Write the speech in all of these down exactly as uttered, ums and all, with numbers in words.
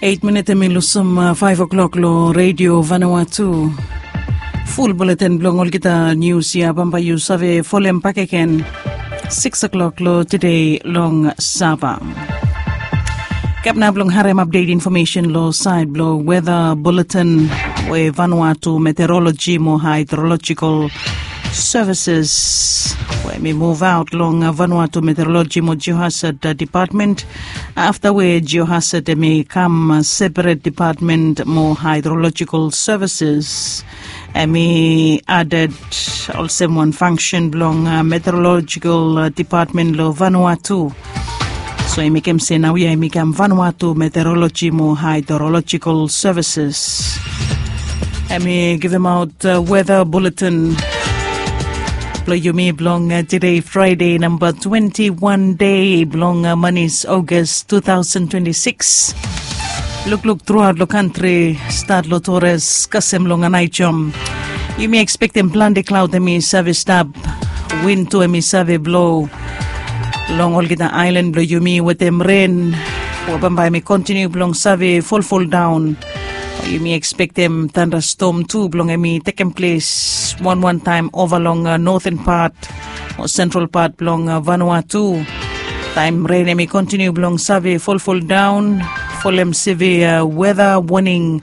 Eit minit em i lusim faiv o'klok long redio Vanuatu. Ful buletin blong olgeta nius ya bambae yu save folem bakegen sikis o'klok long tude long Saba. Kap nao blong harem apdet infomesen long saed blong weda buletin we Vanuatu Meteoroloji mo Haedrolojikal Sevises we mi muvaot long Vanuatu Meteoroloji mo Jiohasad Depatmen afta we Jiohasad em i kam seperet depatmen mo Haedrolojikal Sevises. Em i aded olsem wan fangsen blong Meteorolojikal Depatmen long Vanuatu. So i mekem se naoia em i kam Vanuatu Meteoroloji mo Haedrolojikal Sevises. Em i givimaot weda buletin blong yumi blong tude Fraede namba twenti wan dei blong manis Ogas tu taosen twenti sikis. Lukluk truaot long kantri, stat long Tores kasem long Anaijom, yumi ekspektem plante klaod em i save stap. Win tu em i save blo long olgeta aelan blong yumi wetem ren we bambae em i kontiniu blong save folfoldaon. Yumi ekspektem tandastom tu blong em i tekem ples wanwan taem ova long noten pat o sentral pat blong Vanuatu. Taem ren em i kontiniu blong save folfoldaon, folem sevia weda woning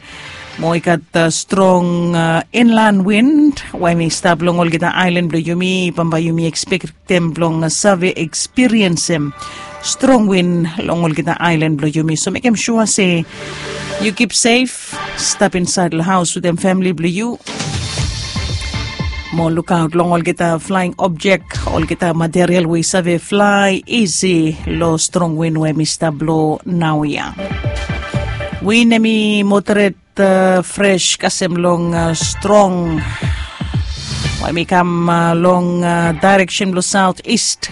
mo i gat strong inlan win we em i stap long olgeta aelan blong yumi, bambae yumi ekspektem blong save ekspiriensem strong win long olgeta aelan blong yumi. So mekem sua se yu kip sef, stap insaed long haos wetem famili blong yu. Mo lukaot long olgeta flaeng objek, olgeta material we i save flae isi long strong win we mi stap blo naoia. Win em i moderet fres kasem long strong we mi kam long daereksen blong saot ist.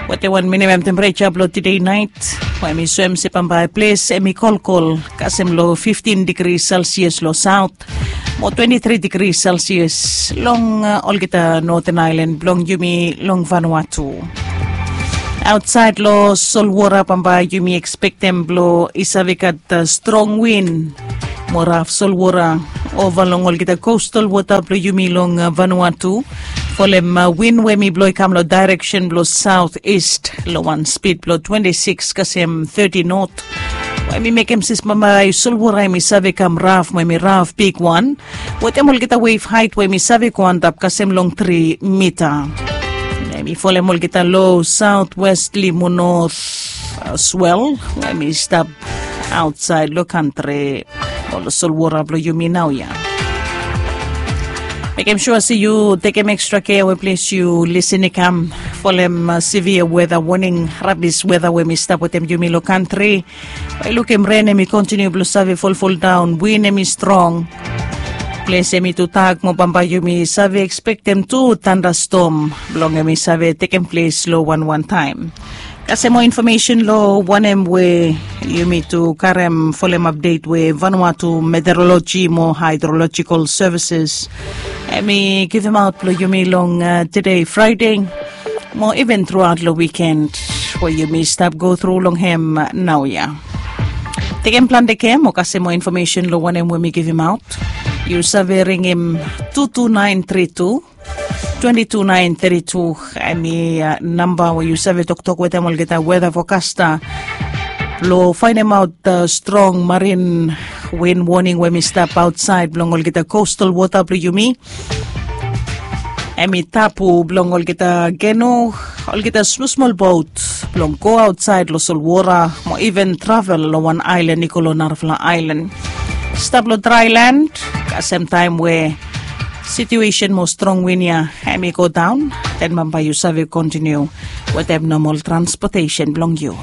Wetem wan minimam tempereja blong tude naet we mi soem se bambae ples em i kolkol kasem long fiftin digri selsias long saot mo twenti tri digri selsias long olgeta noten aelan blong yumi long Vanuatu. Aotsaed long solwora bambae yumi ekspektem blong i save gat strong win mo raf solwora ova long olgeta kostal wota blong yumi long Vanuatu. Folem win we mi blo i kam long daereksen blong saot ist long wan spid blong twenti sikis kasem teti not. We mi mekem se bambae solwora em i save kam raf mo em i raf bigwan wetem olgeta wev haet we em i save go antap kasem long tri mita. Em i folem olgeta lo saotwestli mo not swel we em i stap aotsaed long kantri o long solwora blong yumi naoia. Mekem sua se yu tekem ekstra kea we ples yu lisin i kam folem sevia weda woning, rabis weda we em i stap wetem yumi long kantri. Lukim ren em i kontiniu blong save folfoldaon, win em i strong. Ples em i tu dak mo bambae yumi save ekspektem tu tandastom blong em i save tekem ples long wanwan taem. Kasem moa infomesen long wanem we yumi tu karem folem apdet we Vanuatu Meteoroloji mo Haedrolojikal Sevises em i givimaot blong yumi long tude Fraede mo iven truaot long wiken we yumi stap go tru long hem naoia. Tekem plante kea mo kasem moa infomesen long wanem we mi givimaot. Yu save ringim tu tu naen tri tu twenti tu naen teti tu. Em i namba we yu save toktok wetem olgeta weda fokasta blong faenemaot strong marin win woning we mi stap aotsaed blong olgeta kostal wota blong yumi. Em i tapu blong olgeta kenu, olgeta smosmol bot blong go aotsaed long solwora mo iven travel long wan aelan i go long narafala aelan. Stap long draelan kasem taem we situesen mo strong win ya em i go daon, den bambae yu save kontiniu wetem nomol transpotesen blong yu.